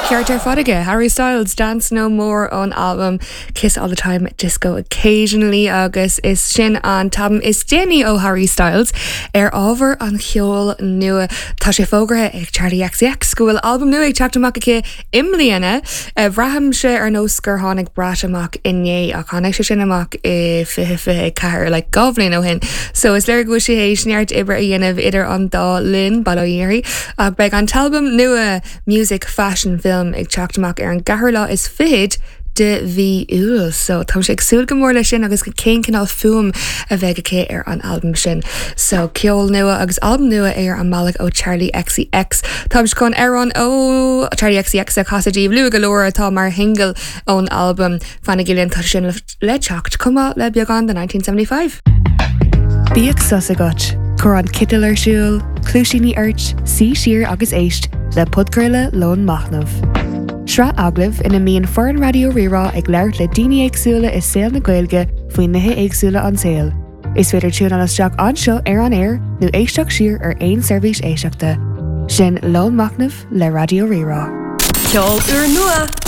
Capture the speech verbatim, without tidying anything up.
Ceart ar fad aige Harry Styles Dance No More ón album Kiss All the Time Disco Occasionally agus is sin an t-albam is déanaí ó Harry Styles ar ábhar an cheoil nua Tá sé fógartha ag Charli XCX go bhfuil albam nua ag teacht amach aici i mbliana Braithimse ar nós gur tháinig Brat amach inné ach tháinig sé sin amach i fiche fiche ceathair le dhá bhliain ó shin. So is léir go bhfuil sí théis neart oibre a dhéanamh idir an dá linn bail ó Dhia uirthi ach beidh an t-albam nua Music Fashion Film ag teacht amach ar an gceathrú lá is fiche de mhí Iúil, so tá sé ag súil go mór leis sin agus go cén cineál fuaim a bheidh aici ar an albam sin. So ceol nua agus albam nua ar an mbealach ó Charli XCX. Tá chun amhrán ó Charli XCX a chasadh daoibh luath go leor atá mar shingil ón albam fanaigí linn tá sin le teacht chomh maith le beagán de nineteen seventy five. Bíodh sos agat, Cuir an citeal ar siúl, cluaisíní ort, suigh siar agus éist le podchraoladh Lón Machnaimh. Sraith agallamh ina mbíonn foireann Raidió Rí-Rá ag labhairt le daoine éagsúla i saol na Gaeilge faoi nithe éagsúla an tsaoil. Is féidir tiúnáil isteach anseo ar an aer nó éisteacht siar ar aon seirbhís éisteachta. Sin Lón Machnaimh le Raidió Rí-Rá. Ceol úrnua